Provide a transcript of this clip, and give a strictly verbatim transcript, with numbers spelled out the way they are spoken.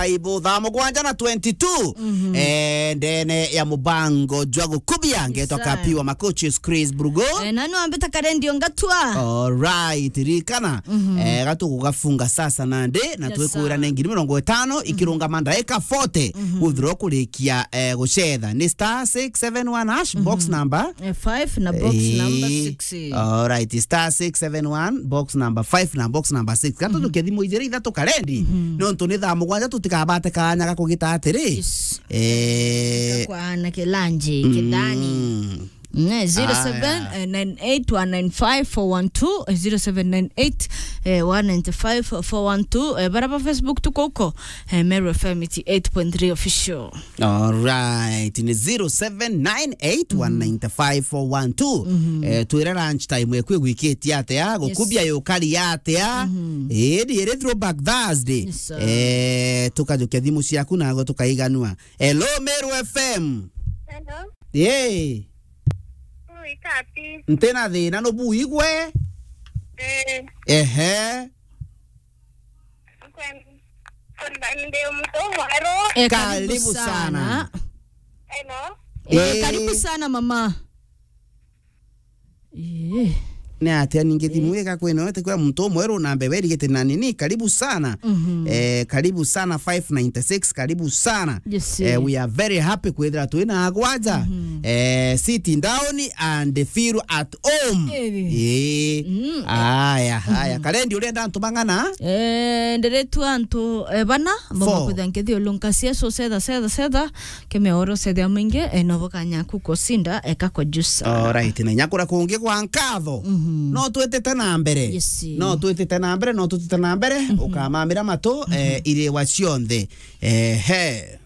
Ibo thaa mugwanja na twenty-two. Mhm. Eh, ndene ya mubango jwa gukubia, ngetwa Kapiwa Makochis Chris Brugo. Eh, nani wambita karendio ngatua? Alright, ririkana. Mhm. Eh, gatugugafunga sasa nandi, na twikwira ni ngiri mirongo itano, ikirungama ndaika forty, guthirwa kurikia, eh, gucetha. Ni star six seven one hash, box number? Eh, five na box number six. Alright, star six seven one, box number five na box number six. Gatujukia thimu ijiri ithatu karendi. Mhm. Nontu ni thaa mugwanja tutikabate kanya ga kugita atiri. Yes. Eh. Kwa na kilanji, kithani. Mm. Ne, zero seven nine eight one nine five four one two, zero seven nine eight one nine five four one two, eh, bara ba Facebook tuko uko, eh, Meru F M eighty-eight point three official. Alright, ni zero seven nine eight one nine five four one two. Mhm. Eh, twire lunch time eku igwikitie atia, gukubia yukari atia. Mhm. Eh, ni iri throwback Thursday. Yes, sir. Eh, tukajukia thimu ciaku nago tukaiganua. Hello, Meru F M. Hello. Yee. Ui, Kapi. Ntina thina, nubuigwe? Eh. Ehe. Kwen-, kwenda ndi mtu mweru. Eh, karibu sana. Hello. Eh, karibu sana, mama. Eh. Ni atia ningi thimu igakwina, wete kwa muntu umwe ru na mbere irigite na nini? Karibu sana. Mhm. Eh, karibu sana five ninety-six, karibu sana. Yes, eh, eh. We are very happy kwithira twina agwanja. Mhm. Eh, sitting down and feel at home. Eh. Eh. Mm. Aya, aya. Mhm. Karendi, urenda antu bang'ana? Eh, ndiritwa antu, eh, bana, boma kwithira nkithiulunka cia so setha, setha, setha. Kemea oro setha mwingi, eh, no bukanya kukosinda, eh, kakojusa. Alright, na nyakura kungi kwa nkatho. Mhm. No twitite na mbere. Yes. No twitite na mbere, no twitite na mbere. Mhm. Ukamamira matu, eh, iriwa cionthe. Eh, he.